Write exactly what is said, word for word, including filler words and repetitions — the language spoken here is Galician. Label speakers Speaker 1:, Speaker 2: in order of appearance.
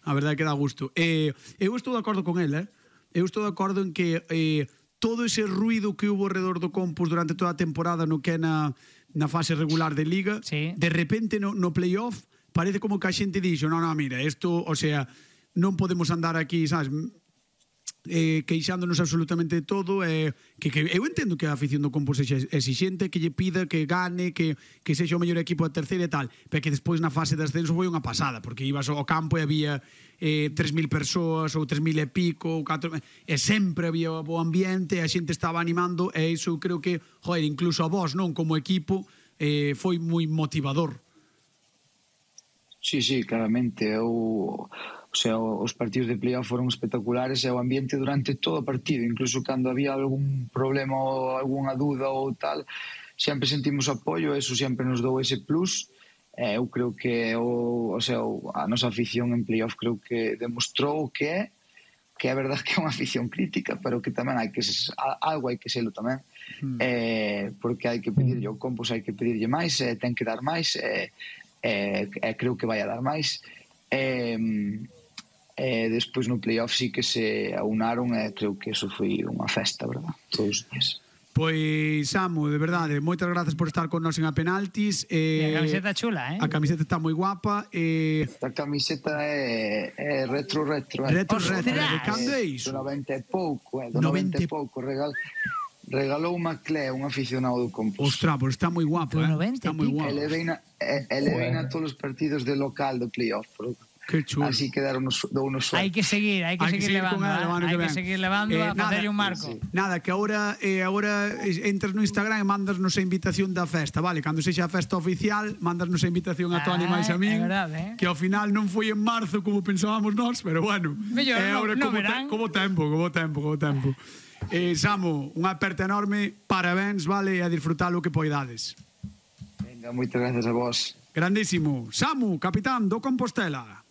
Speaker 1: A verdade que dá gusto. Eh, eu estou de acordo con el, eh? Eu estou de acordo en que eh, todo ese ruido que hubo alrededor do Compos durante toda a temporada no que é na, na fase regular de Liga,
Speaker 2: sí.
Speaker 1: de repente no, no playoff parece como que a xente dixo, no, no, mira, isto, o sea, non podemos andar aquí, sabes, eh, queixándonos absolutamente de todo, eh, que, que eu entendo que a afición do Compos sexa exixente, que lle pida que gane, que, que sexa o mellor equipo da terceira e tal, pero que despois na fase de ascenso foi unha pasada, porque ibas ao campo e había eh, tres mil persoas ou tres mil e pico ou catro, e sempre había bo ambiente e a xente estaba animando, e iso creo que, joder, incluso a vos, non, como equipo, eh, foi moi motivador.
Speaker 3: Sí, sí, claramente. Eu, o sea, os partidos de playoff foron espectaculares e o ambiente durante todo o partido, incluso cando había algún problema ou algunha dúda ou tal, sempre sentimos apoio, eso sempre nos dou ese plus. Eh, eu creo que o, o sea, a nosa afición en playoff creo que demostrou que é que é verdade que é unha afición crítica, pero que tamén hai que algo hai que selo tamén. Mm. Eh, porque hai que pedirlle ao Compos, hai que pedirlle máis, eh, ten que dar máis, eh, eh, eh, creo que vai a dar máis. Eh, eh, despois no playoff sí que se aunaron e eh, creo que eso foi unha festa, verdad? Todos os días.
Speaker 1: Pois, Samu, de verdade, moitas grazas por estar con nós en A Penaltis.
Speaker 2: Eh, a camiseta chula, eh?
Speaker 1: A camiseta está moi guapa. Eh...
Speaker 3: A camiseta é, é retro, retro. Eh?
Speaker 1: Retro, retro. De cando é iso?
Speaker 3: Do noventa e pouco, eh? Do noventa e pouco. Regal... Regalou unha Clé, un aficionado do Compos.
Speaker 1: Ostras, pois está moi guapo, eh? Está moi guapo.
Speaker 3: Ele veina, ele veina todos os partidos de local do playoff.
Speaker 1: Que chulo.
Speaker 3: Así quedaron unos, unos sueltos.
Speaker 2: Hai que seguir, hai que
Speaker 1: hay
Speaker 2: seguir, que seguir levando, eh? Hai que, que seguir levando eh, a facerlle un marco.
Speaker 1: Sí, sí. Nada, que agora eh, agora entras no Instagram e mandas-nos a invitación da festa, vale? Cando sexa a festa oficial, mandas-nos a invitación a Toni máis a min.
Speaker 2: Verdade, eh?
Speaker 1: Que ao final non foi en marzo como pensábamos nós, pero bueno.
Speaker 2: Mellor,
Speaker 1: eh,
Speaker 2: no, no
Speaker 1: como,
Speaker 2: verán.
Speaker 1: Te, como tempo, como tempo, como tempo. Eh, Samu, unha aperta enorme, parabéns, vale, e a disfrutar o que poidades.
Speaker 3: Venga, moitas gracias a vos.
Speaker 1: Grandísimo. Samu, capitán do Compostela.